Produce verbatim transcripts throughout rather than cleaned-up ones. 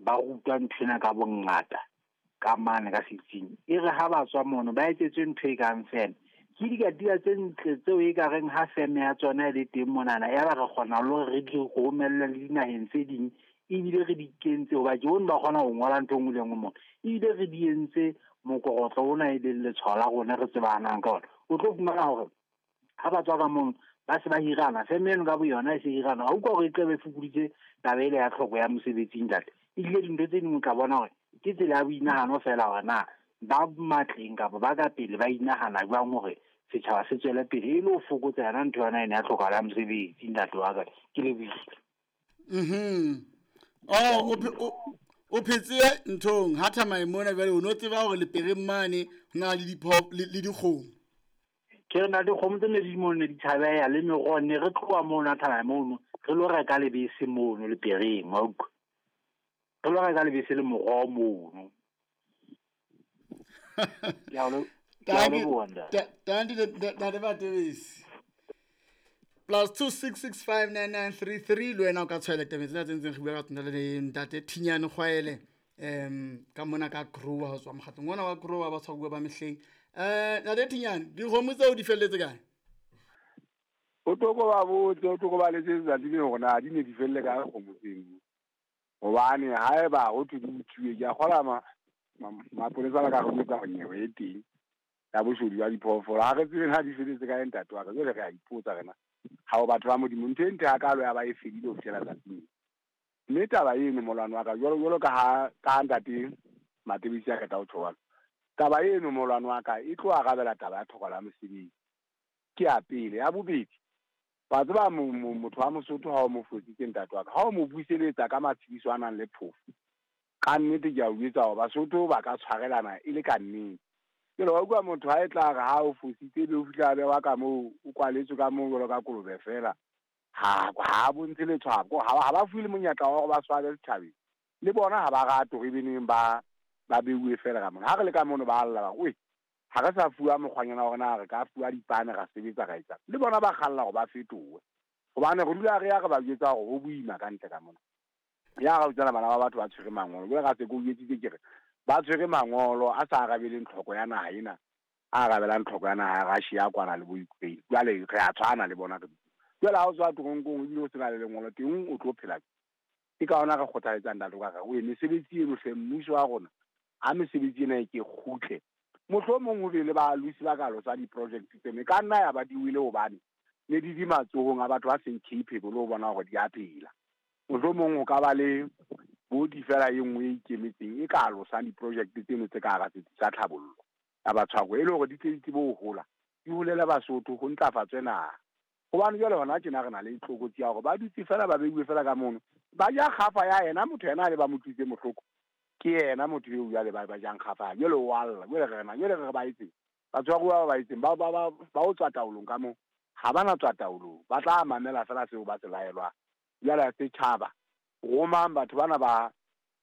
ba rutwa nthwena ka bongata ka mane ka setsing. E re ha ba tswa mono ba etsetswe ntho e kang feme. Ke dikatiba tse ntle tseo e ka reng ha feme ya tsona e le teng monana, ya ba re kgona le hore re di romelle le dinaheng tse ding, ebile re di kentse hoba ke bone ba kgona ho ngola ntho e nngwe le e nngwe mona. Ebile re di entse mokorotlo ona e leng letshwao la rona re tsebahalang ka ona. O tlo fumana hore ha ba tswa ka mono ba se ba hirana, feme eno ka boyona e se hirana. Ha utlwa hore e tlabe e fokoditse taba ele ya tlhoko ya mosebetsi ntate. Ebile dintho tse ding o tla bona hore ke tsela ya boinahano feela hore na ba matleng kapa ba ka pele ba inahana jwang hore setjhaba se tswele pele e le ho fokotsa yona ntho yona ena ya tlhokahalo ya mosebetsi ntate wa ka. Ke lebohile. Mhm. Oh, o o phetse nthong ha thamae mona jwale o no tseba hore lepereng mane ho na le dipho le dikgomo. Ke re na dikgomo tse ne di mono ne di tshabeha le meroho, ne re tloha mono ha thamae mono re lo reka lebese mono lepereng, wa utlwa. Re lo reka lebese le moroho mono. Ke a lo ke a leboha ntate. Tanti ntate Matebesi. Plus two six six five nine nine three three le wena o ka tshwaela tabeng tsena tse ntseng re bua ka tsona le ntate Thinyane Kgwaele um ka mona ka Grower ho tswa mokgatlong ona wa Grower ba tshwaruwa ba mehleng. Eh ntate Thinyane, dikgomo tseo di felletse kae? O tlo ba botse, o tlo ba letsetsa letsatsi le hore na di ne di felle kae kgomo tseno. Hobane haeba ho thwe di utsuwe, ke a kgolwa mapolesa ba ka re jwetsa hore nyewe e teng ya boshodu ba diphoofolo. Ha re tsebe na di felletse kae ntate wa ka, jwale re a ipotsa rena. Ha o batho ba Modimo, ntho e ntle hakalo ya ba e fedile ho fihlela tsatsing. Mme taba eno molwano wa ka, jwalo jwalo ka ha ka ntate Matebesi a qeta ho tjho jwalo. Taba eno molwano wa ka e tlo arabela taba ya tlhokahalo ya mosebetsi. Ke ya pele. Ya bobedi, wa tseba motho wa Mosotho ha o mo fositse ntate wa ka, ha o mo buseletsa ka matshediso a nang le phofo, ka nnete ke a o jwetsa hore Basotho ba ka tshwarelana e le ka nnete. Jwale wa utlwa motho ha e tla re ha o fositse ebe o fihla a bewa ka moo, o kwaletswe ka moo jwalo ka kolobe feela, ha ha bontshe letshwao, ha ba fuwe le monyetla wa hore ba swabe setjhabeng. Le bona ha ba rate hore ebe neng ba ba beuwe feela ka mona. Ha re le ka mono ba lla ba re, "Oi, ha re sa fuwa mokgwanyana wa rona, re ka fuwa dipane ra sebetsa ra etsa." Le bona ba kgalla hore ba fetohe. Hobane re dula re ya re ba jwetsa hore ho boima ka ntle ka mona. Ya ra utlwana bana ba batho ba tshwere mangolo. Jwale ra se ke o jwetsitse ke re ba tshwere mangolo a sa arabeleng tlhoko ya naha ena, a arabelang tlhoko ya naha ya Russia kwana le bo Ukraine. Jwale re a tshwana le bona re. Jwale ha o tswa toronkong ebile o sena le lengolo teng o tlo phela. Ke ka hona re kgothaletsang ntate ka re o mesebetsi eno hle mmuso wa rona, ha mesebetsi ena e ke kgutle. Mohlomong ho be le balosi ba ka losa di-project tseno, e ka nna ya ba di wele hobane ne di di matsohong a batho ba seng capable ho bona hore di a phela. Mohlomong ho ka ba le body fela e nngwe e ikemetseng e ka alosang di-project tseno tse ka hara setsi sa tlhabollo ya batshwaruwa, e le hore di tle di tsebe ho hola, di holele Basotho, ho ntlafatswe naha. Hobane jwale hona tjena re na le tlokotsi ya hore ba dutse fela ba beuwe fela ka mono, ba ja kgafa ya yena motho yena a le ba mo tlositse mohloko, ke yena motho eo jwale ba ba jang kgafa, jwale o a lla. Jwale re rena, jwale re re ba etseng? Batshwaruwa ba ba etseng? Ba ba ba ba o tswa taolong ka moo, ha ba na tswa taolong, ba tla mamela fela seo ba se laelwang. Jwale setjhaba, romang batho bana ba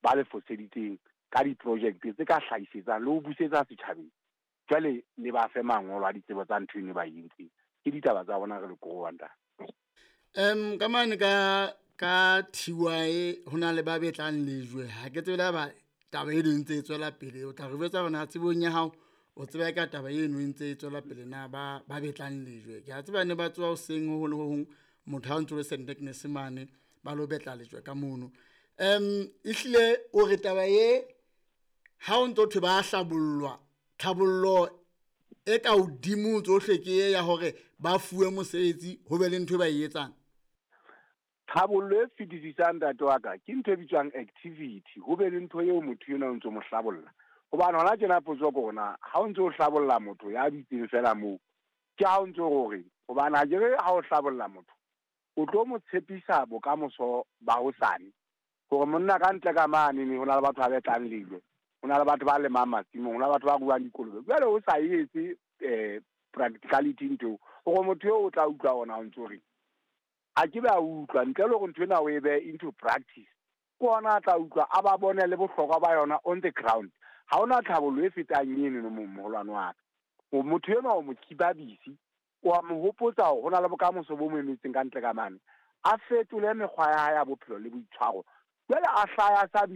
ba le foseditseng ka di-project tse ka hlahisetsang le ho busetsa setjhabeng. Jwale le ba fe mangolo a ditsebo tsa ntho eno ba e entseng. Ke ditaba tsa bona re le korowang ntate. Um ka mane ka ka T Y ho na le ba betlang lejwe. Ha ke tsebe ba taba eno e ntse e tswela pele. O tla re jwetsa hore na tsebong ya hao o tseba ka taba eno e ntse e tswela pele na ba ba betlang lejwe. Ke a tseba ne ba tsoha hoseng ho hong le ho hong, motho ha o ntso le Saint Agnes mane ba lo betla lejwe ka mono. Um ehlile o re taba e ha o ntso thwe ba hlabollwa, tlhabollo e ka hodimo tsohle ke e ya hore ba fuwe mosebetsi ho be le ntho e ba e etsang. Tlhabollo e fetisisang ntate wa ka ke ntho e bitswang activity, ho be le ntho eo motho enwa o ntso mo hlabolla. Hobane hona tjena potso ke hore na ha o ntso o hlabolla motho ya dutseng fela moo, ke ha o ntso hore hobane ha ke re ha o hlabolla motho o tlo mo tshepisa bokamoso ba hosane, hore monna ka ntle ka mane ne ho na le batho ba betlang lejwe, ho na le batho ba lemang masimong, ho na le batho ba ruang dikolobe. Jwale o sa etse eh practicality ntho hore motho eo o tla utlwa ona o ntso re a ke ba utlwa ntle le hore ntho ena o e behe into practice, ke ona a tla utlwa a ba bone le bohlokwa ba yona on the ground. Ha hona tlhabollo e fetang eno no moholwane wa ka. Motho enwa o mo keep-a busy, o a mo hopotsa hore ho na le bokamoso bo mo emetseng ka ntle ka mane, a fetole mekgwa ya hae ya bophelo le boitshwaro. Jwale a hlaya sa bile